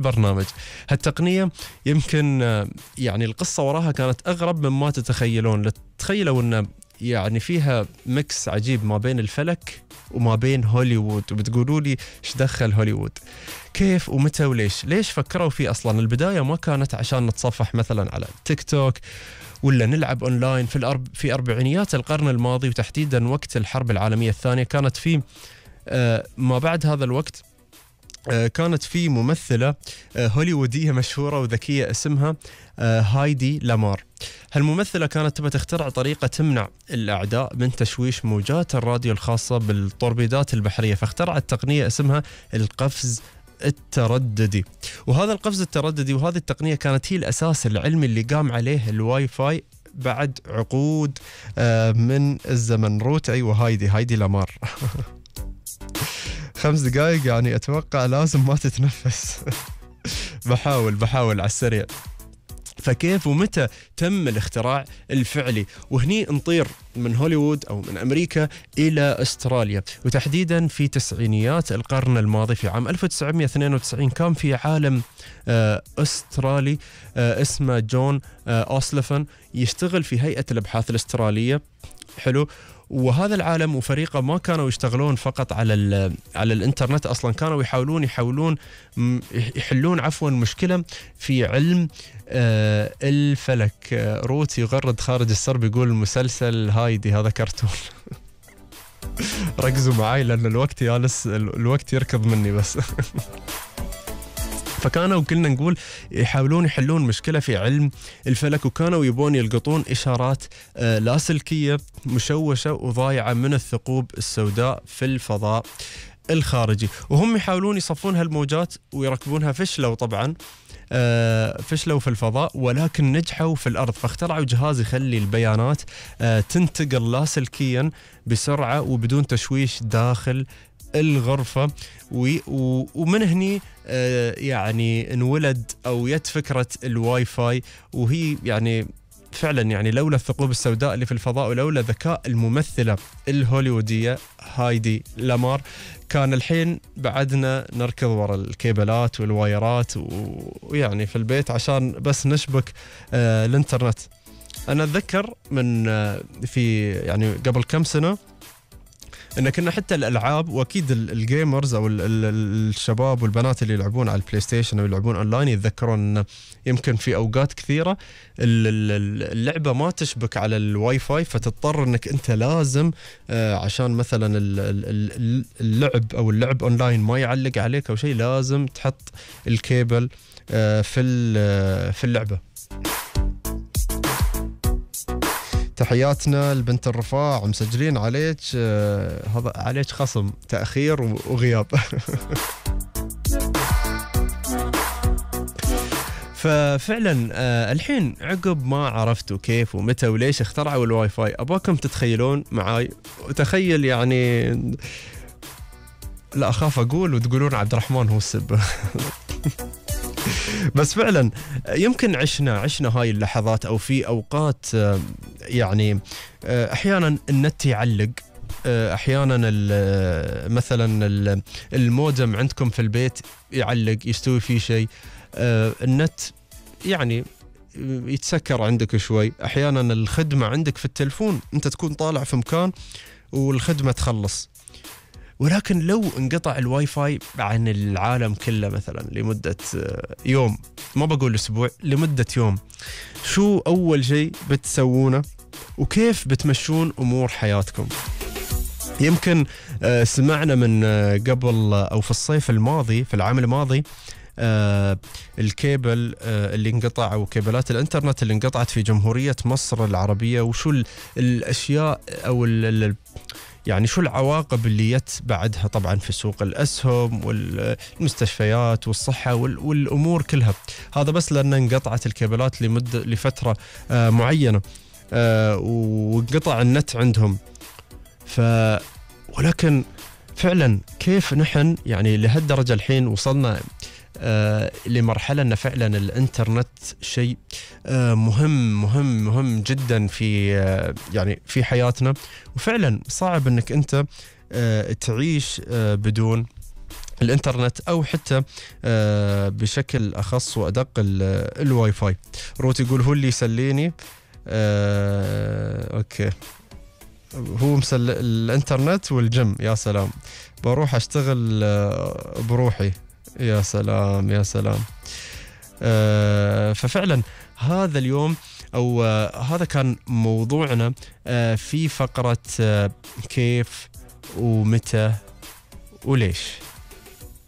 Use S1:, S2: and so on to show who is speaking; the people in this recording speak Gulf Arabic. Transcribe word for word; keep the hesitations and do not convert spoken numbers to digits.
S1: برنامج. هالتقنية يمكن آه، يعني القصة وراها كانت أغرب مما تتخيلون. لا تتخيلوا أن يعني فيها ميكس عجيب ما بين الفلك وما بين هوليوود، وبتقولوا لي ايش دخل هوليوود؟ كيف ومتى وليش؟ ليش فكروا فيه أصلا؟ البداية ما كانت عشان نتصفح مثلا على تيك توك ولا نلعب أونلاين في الأرب في أربعينيات القرن الماضي، وتحديدا وقت الحرب العالمية الثانية. كانت في آه ما بعد هذا الوقت آه كانت في ممثلة آه هوليوودية مشهورة وذكية اسمها آه هايدي لامار. هالممثلة كانت تبى تخترع طريقة تمنع الأعداء من تشويش موجات الراديو الخاصة بالتوربيدات البحرية، فاخترعت تقنية اسمها القفز الترددي. وهذا القفز الترددي وهذه التقنية كانت هي الأساس العلمي اللي قام عليه الواي فاي بعد عقود آه من الزمن. روت أيوة هايدي هايدي لامار. خمس دقائق يعني أتوقع لازم ما تتنفس. بحاول بحاول على السريع. فكيف ومتى تم الاختراع الفعلي؟ وهني نطير من هوليوود أو من أمريكا إلى أستراليا، وتحديدا في تسعينيات القرن الماضي. في عام ألف وتسعمائة واثنين وتسعين كان في عالم أسترالي اسمه جون أوسلفن يشتغل في هيئة الأبحاث الأسترالية. حلو. وهذا العالم وفريقه ما كانوا يشتغلون فقط على على الانترنت، اصلا كانوا يحاولون يحاولون يحلون عفوا مشكله في علم آه الفلك. آه روت يغرد خارج السرب يقول المسلسل هايدي هذا كرتون. ركزوا معاي لان الوقت يالس الوقت يركض مني بس. فكانوا كلنا نقول يحاولون يحلون مشكلة في علم الفلك، وكانوا يبون يلقطون إشارات آه لاسلكية مشوشة وضايعة من الثقوب السوداء في الفضاء الخارجي، وهم يحاولون يصفون هالموجات ويركبونها. فشلوا طبعا آه فشلوا في الفضاء، ولكن نجحوا في الأرض. فاخترعوا جهاز يخلي البيانات آه تنتقل لاسلكيا بسرعة وبدون تشويش داخل الغرفة. ومن هني آه يعني انولد أو يت فكرة الواي فاي، وهي يعني فعلا يعني لولا الثقوب السوداء اللي في الفضاء ولولا ذكاء الممثلة الهوليوودية هايدي لامار كان الحين بعدنا نركض وراء الكيبلات والوايرات ويعني في البيت عشان بس نشبك آه الانترنت. أنا أتذكر من آه في يعني قبل كم سنة إن كنا حتى الألعاب، وأكيد الجيمرز أو الشباب والبنات اللي يلعبون على البلاي ستيشن أو يلعبون أونلاين يتذكرون إن يمكن في أوقات كثيرة اللعبة ما تشبك على الواي فاي، فتضطر إنك أنت لازم عشان مثلا اللعب أو اللعب أونلاين ما يعلق عليك أو شيء لازم تحط الكيبل في في اللعبة. تحياتنا لبنت الرفاع، مسجلين عليك آه هذا عليك خصم تأخير وغياب. ففعلا آه الحين عقب ما عرفتوا كيف ومتى وليش اخترعوا الواي فاي، أباكم تتخيلون معاي وتخيل يعني لا أخاف أقول وتقولون عبد الرحمن هو السب. بس فعلا يمكن عشنا عشنا هاي اللحظات، أو في أوقات يعني أحيانا النت يعلق، أحيانا مثلا المودم عندكم في البيت يعلق يستوي فيه شيء، النت يعني يتسكر عندك شوي، أحيانا الخدمة عندك في التلفون أنت تكون طالع في مكان والخدمة تخلص. ولكن لو انقطع الواي فاي عن العالم كله مثلا لمدة يوم، ما بقول أسبوع، لمدة يوم، شو أول شيء بتسوونه وكيف بتمشون أمور حياتكم؟ يمكن سمعنا من قبل أو في الصيف الماضي في العام الماضي الكيبل اللي انقطع أو كيبلات الانترنت اللي انقطعت في جمهورية مصر العربية، وشو الأشياء أو ال يعني شو العواقب اللي يت بعدها طبعا في سوق الأسهم والمستشفيات والصحة والأمور كلها. هذا بس لأن انقطعت الكابلات لمدة لفترة آه معينة آه وانقطع النت عندهم. ف ولكن فعلا كيف نحن يعني لهالدرجة الحين وصلنا آه لمرحلة أن فعلا الإنترنت شيء آه مهم مهم مهم جدا في آه يعني في حياتنا، وفعلا صعب أنك أنت آه تعيش آه بدون الانترنت او حتى آه بشكل اخص وادق ال- الواي فاي. روت يقول هو اللي يسليني. آه اوكي، هو مسل الانترنت والجيم. يا سلام، بروح اشتغل آه بروحي. يا سلام يا سلام. آه ففعلا هذا اليوم او آه هذا كان موضوعنا آه في فقرة آه كيف ومتى وليش.